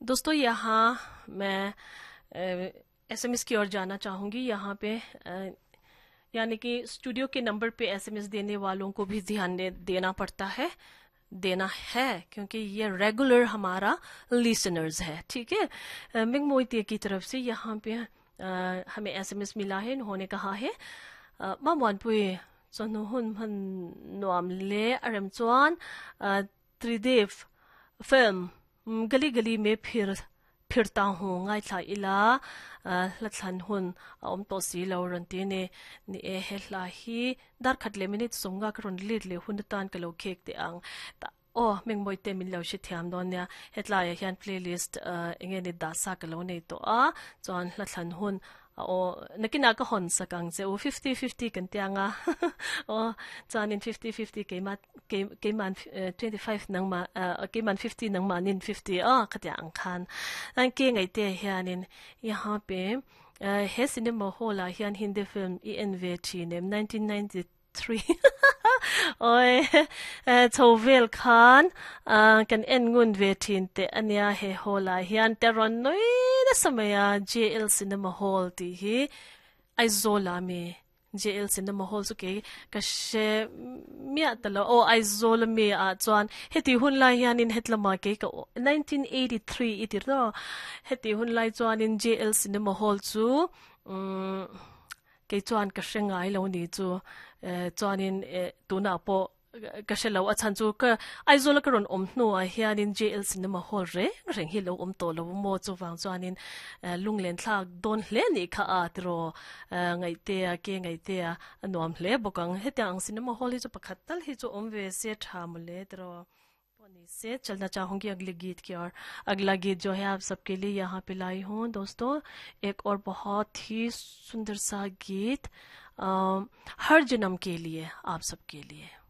दोस्तों, यहाँ मैं एसएमएस की ओर जाना चाहूँगी। यहाँ पे यानी कि स्टूडियो के नंबर पे एसएमएस देने वालों को भी ध्यान देना पड़ता है, देना है, क्योंकि ये रेगुलर हमारा लिसनर्स है। ठीक है, मिंग मोइते की तरफ से यहाँ पे हमें एसएमएस मिला है। इन्होंने कहा है, मामवानपुई चनुहुन हन नुआम ले अरम चुआन त्रिदेव फिल्म गली गली में फिर फिरता हूँ ngai thla ila hla thlan hun a awm tawh si lo rawn ti a ni. Ni e, he hla hi dar khat leh minute sawmnga ka rawn let leh hun atan ka lo khek teh ang. Tah aw Mengmawi te min lo hre thiam dawn nia. Hetlaiah hian playlist eng nge ni dah sa ka lo nei tawh a, chuan hla thlan hun a aw nakinah ka hawn sak ang che u 50-50 kan tia anga aw chuanin 50-50 keimah keiman 25 nangmah keiman 50 nangmahnin 50 aw khatia ang khan an ke ngaihte hianin yahan pe he cinema hall ah hian Hindi film i en ve thin em 1993 oi chho vel khan kan en ngun ve thin teh ania he hall ah hian te rawn nui nasa mai a JL cinema hall tih hi Aizawl ah mi JL Cinema Hall chu kei ka hre miah ta lo. Aw Aizawl ami ah chuan heti hun lai hianin hetlama kei ka 1983 i ti rawh. Heti hun lai chuanin JL Cinema Hall chu umm kei chuan ka hre ngai lo ni chu. Chuanin tunah pawh Ka hre lo, a chhan chu ka Aizawl a ka rawn awm hnuah hianin JL Cinema Hall reng reng hi lo awm tawh lo maw, chuvang chuanin lunglen thlak dawn hle nih kha a tiraw Ngaihtea ke Ngaihtea a nuam hle bawk ang. Hetiang ang Cinema Hall hi chu pakhat tal hi chu awm ve se tha mawle tiraw. Pawh ni se chalna chahungi agli geet ki aur agla geet jo hai aap sabke liye yahan pe लाई हूँ दोस्तों एक और बहुत ही सुंदर सा गीत हर जन्म के लिए आप सबके लिए।